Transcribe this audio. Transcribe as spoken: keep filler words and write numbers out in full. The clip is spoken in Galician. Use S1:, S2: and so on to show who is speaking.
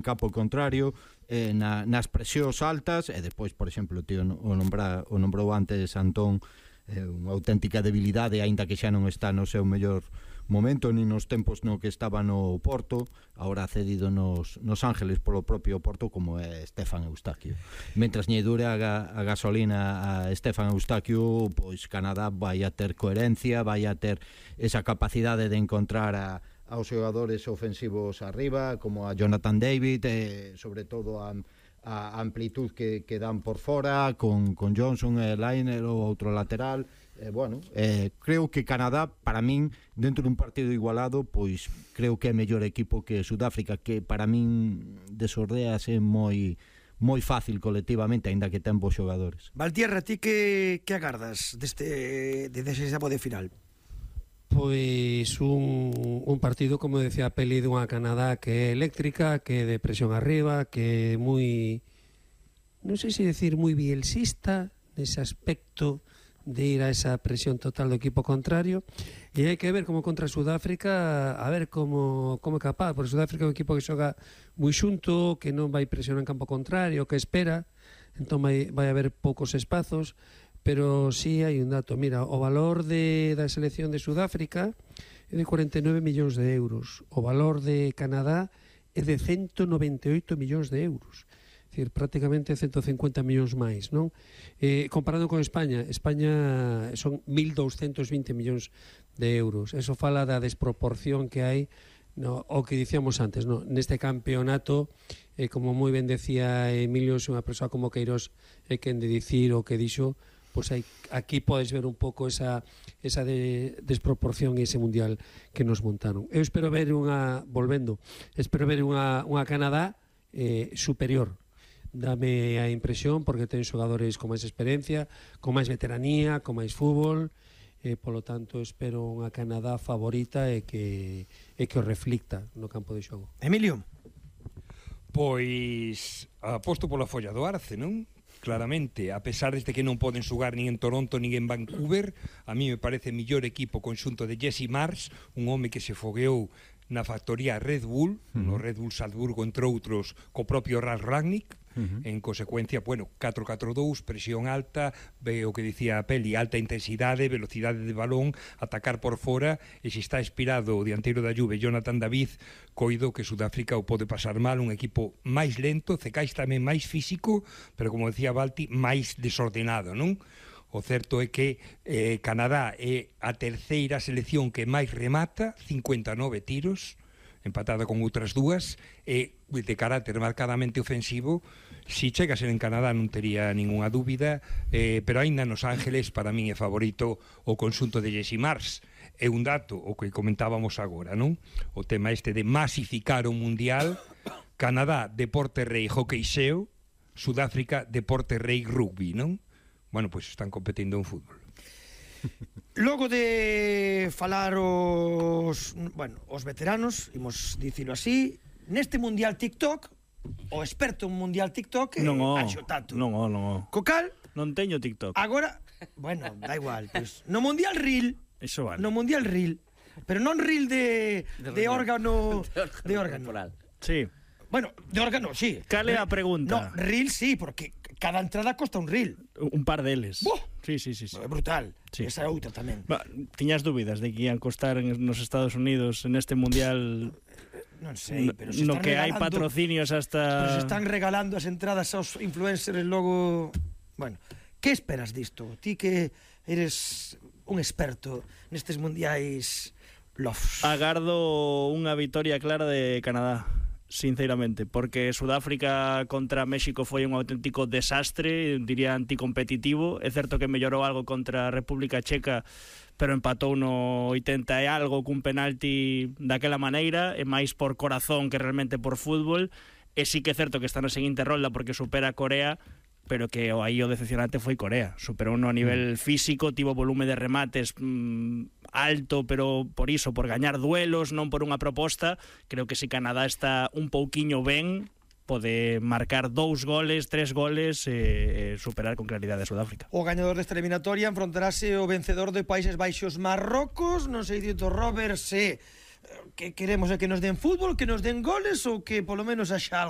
S1: campo contrario, eh, na, nas presións altas, e despois, por exemplo, tío, o, nombra, o nombrou antes Antón, eh, unha auténtica debilidade, aínda que xa non está no seu mellor momento, ni nos tempos no que estaba no Porto, agora cedido nos, nos Ángeles polo propio Porto, como é Stefan Eustaquio. Mentras lle dure a, a gasolina a Stefan Eustaquio, pois Canadá vai a ter coherencia, vai a ter esa capacidade de encontrar a aos xogadores ofensivos arriba, como a Jonathan David, e sobre todo a, a amplitud que, que dan por fora, con, con Johnson e Liner, o outro lateral. Eh, bueno, eh, creo que Canadá, para min, dentro dun partido igualado, pois creo que é mellor equipo que Sudáfrica, que para min desordease moi moi fácil colectivamente, aínda que ten bons xogadores.
S2: Valtierra, ti que, que agardas deste de desexabo de final?
S3: Pois un, un partido, como decía Peli, dunha Canadá que é eléctrica, que é de presión arriba, que é moi, non sei se decir moi bielsista nese aspecto de ir a esa presión total do equipo contrario, e hai que ver como contra Sudáfrica, a ver como, como é capaz, porque Sudáfrica é un equipo que xoga moi xunto, que non vai presionar en campo contrario, que espera, entón vai, vai haber poucos espazos. Pero sí hai un dato, mira, o valor de, da selección de Sudáfrica é de cuarenta e nove millóns de euros, o valor de Canadá é de ciento noventa e oito millóns de euros, é dicir, prácticamente ciento cincuenta millóns máis, non? Eh, comparando con España, España son mil doscientos vinte millóns de euros, eso fala da desproporción que hai, no, o que dicíamos antes, no? Neste campeonato, eh, como moi ben decía Emilio, se unha persoa como Queiroz é quen de dicir o que dixo, pois aí, aquí podes ver un pouco esa, esa de, desproporción e ese mundial que nos montaron. Eu espero ver unha, volvendo, espero ver unha, unha Canadá eh, superior. Dame a impresión, porque ten xogadores con máis experiencia, con máis veteranía, con máis fútbol, eh, polo tanto espero unha Canadá favorita e que, e que o reflicta no campo de xogo.
S2: Emilio?
S4: Pois aposto pola folla do Arce, non? Claramente, a pesar de que non poden xogar nin en Toronto nin en Vancouver, a mí me parece mellor equipo conxunto de Jesse Marsh, un home que se fogueou na factoría Red Bull, uh-huh. no Red Bull Salzburgo, entre outros, co propio Ralf Rangnick. Uh-huh. En consecuencia, bueno, catro catro dous, presión alta, ve o que dicía a Peli, alta intensidade, velocidade de balón, atacar por fora, e se está inspirado o dianteiro da Juve, Jonathan David, coido que Sudáfrica o pode pasar mal, un equipo máis lento, Cecais tamén máis físico, pero como decía Valti, máis desordenado, non? O certo é que eh, Canadá é a terceira selección que máis remata, cincuenta e nove tiros, empatada con outras dúas, e de carácter marcadamente ofensivo. Si chega a ser en Canadá non tería ningunha dúbida, eh, pero aínda nos Ángeles para min é favorito o conxunto de Jesse Marsh. É un dato o que comentábamos agora, non? O tema este de masificar o mundial. Canadá, deporte rei hockey xeo, Sudáfrica, deporte rei rugby, non? Bueno, pois pues están competindo en fútbol.
S2: Logo de falar os, bueno, os veteranos, imos dicilo así, neste mundial TikTok, o experto en mundial TikTok é Anxo Tato.
S5: Non, non, non.
S2: Cocal?
S5: Non teño TikTok.
S2: Agora, bueno, da igual, pues, no mundial Reel.
S5: Eso vale.
S2: No mundial Reel. Pero non Reel de, de, de órgano de órgano.
S5: Sí.
S2: Bueno, de órgano, sí.
S5: Cale a pregunta?
S2: No, Reel sí, porque cada entrada costa un Reel.
S5: Un par deles.
S2: Buah.
S5: Sí, sí, sí, sí.
S2: É brutal.
S5: Sí.
S2: Esa é outra tamén.
S5: Ba, tiñas dúbidas de que ian costar en, nos Estados Unidos en este mundial?
S2: Non sei, pero se
S5: no
S2: están
S5: que hai
S2: regalando
S5: patrocinios hasta...
S2: Pero se están regalando as entradas aos influencers logo... Bueno, que esperas disto? Ti que eres un experto nestes mundiais lofs.
S5: Agardo unha vitoria clara de Canadá, sinceramente, porque Sudáfrica contra México foi un auténtico desastre, diría anticompetitivo. É certo que mellorou algo contra a República Checa, pero empatou no oitenta e algo cun penalti daquela maneira, e máis por corazón que realmente por fútbol. E sí que é certo que está na seguinte rolda porque supera a Corea, pero que aí o decepcionante foi Corea. Superou no a nivel físico, tivo volume de remates mmm, alto, pero por iso, por gañar duelos, non por unha proposta. Creo que se Canadá está un pouquiño ben, pode marcar dous goles, tres goles e, e superar con claridade a Sudáfrica.
S2: O gañador desta eliminatoria enfrontarase o vencedor de Países Baixos Marrocos. Non sei dito Robert se que queremos é que nos den fútbol, que nos den goles ou que polo menos haxa algo